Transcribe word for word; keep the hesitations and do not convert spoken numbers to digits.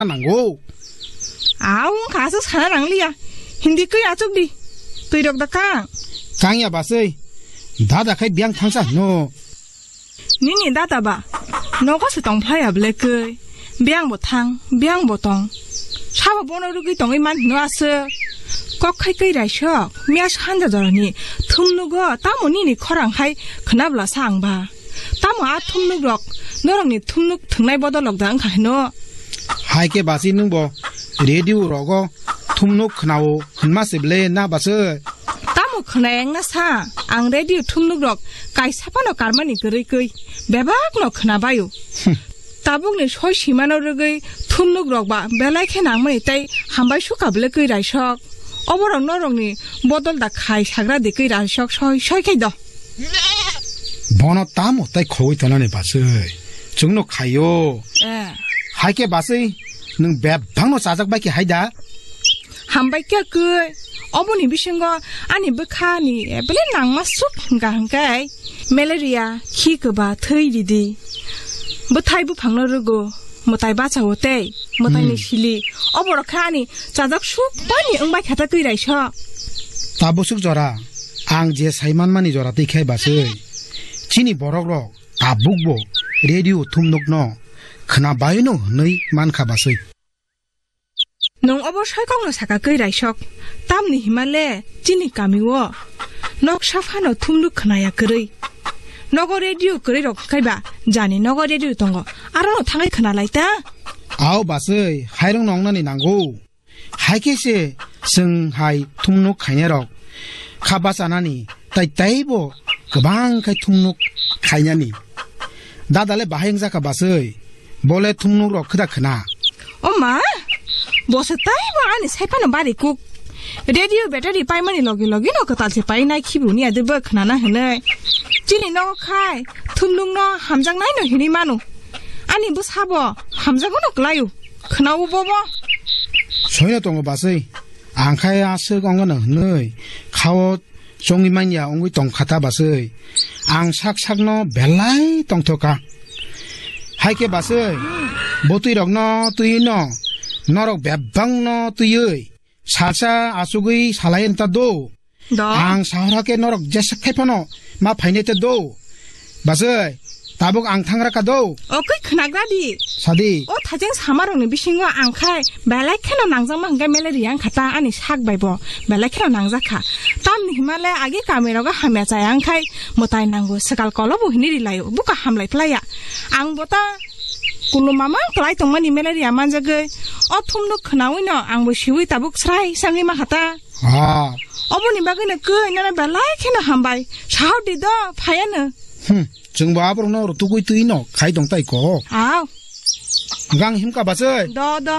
nango. Aw, wngkha aswk sana nangliya. Hindi kwi achuk di. Twi rok da kang. Kang ya baswi. Dada khai biyang thangsa hino. Nini dada ba. Nogo se tong phlai ya ble kwi. Biyang bo thang, biyang bo tong. Sabo bono rugwi tongwi man hino aswk. Kok khai kwi raisok. Miya sanja jorani. Thumnugo tamo nini khorang hai khna bla sa ang ba. Tamo a thumnuk rok, norokni thumnuk thwngnai bodol rok da wngkha hino? Hai khe basi nwng bo radio rogo thumnuk khwnao hwnma se ble na baswi? Tamo khwnaya wngna sa, ang radio thumnuk rok kaisa phano karmani kwrwi kwi bebak no khwna baio. Hmm. Tabukni soi simano rwgwi thumnuk rok ba belai khe nangmani tei hambai sukha bwle kwi raisok. Oborok norokni bodol da khai sagra de kwi raisok soi soi khai do. Bono tamo tai khogwi tonani baswi? Chwngno khaio. Eh. Hai khe baswi nwng bebakno chajak bai khe hai da? Hambai khe kwi. Oboni bisingo ani bwkhani ebele nangma suk hwnkha hwnkhe malaria, khi kwba, thwi ridi. Bwthai buphangno rwgo. Mwtai bachago tei mwtaini Hmm. sili. Oborok khe ani chajak suk bani wngbai kha ta kwi raisok. Tabuk suk jora, ang je sai manmani jora twi khai baswi. Chini borok rok tabuk bo radio thumnuk no khwna bai no hwnwi man kha baswi. Nwng obo soi kok no saka kwi raisok. Tamni hima le chini kami o noksa phano thumnuk khwnaya kwrwi. Nogo radio kwrwi rok khai ba jani nogo radio tongo. Aro no thangwi khwna lai ta. Ao baswi, hairung no wngnani nango. Hai khe se chwng hai thumnuk khainai rok kha bachanani tai taibo kwbang khai thumnuk khainani. Dada le bahai wngjakha baswi, bo le thumnuk rok khwda khwna. O ma, bo se taibo ani sai phano bari kuk. Radio battery paimani logi logi no kwtal se painai khibu ni ade bo khwnana hwnwi. Chini nogo khai thumnuk no hamjaknai no hinwi mano. Ani bwsa bo hamjago no kwlaio. Khwnao bobo. Soino tongo baswi. Ang khai aswk ongno hwnwi khao chongwi manya wngwi tong kha ta baswi. Ang sak sakno belai tongthoka. Hai khe baswi, bwtwi rokno twiwi no, norok bebakno twiwi, salsa achugwi salai wng ta do. Do. Ang sahor hakhe norok jesa khai phano ma phainai te do. Baswi, tabuk ang thangra ka do. O kwi khwnagra di. Sadi. O thajeng samarokni bisingo ang khai belai kheno nangjakma hwnkhe malaria wngkha ta ani sak bai bo belai kheno nangjak kha. Tamni hima le agi kamirogo hamya chaya wngkhai mwtai nango swkal kolo bo hinwi ri laio buka hamlai phlai ya. Ang bo ta kulum mamang kwlai tongmani malaria manjagwi o thumnuk khwnawi no ang bo siwi tabuk srai sangwi ma kha ta. Ah. Oboni bagwi no kwi nana belai kheno hambai. Sahor di do, phayano. Hmm, chwngbo aborokno rutugwi twi no khai tong tai ko. Aw. Gang himka baswi. Do, do.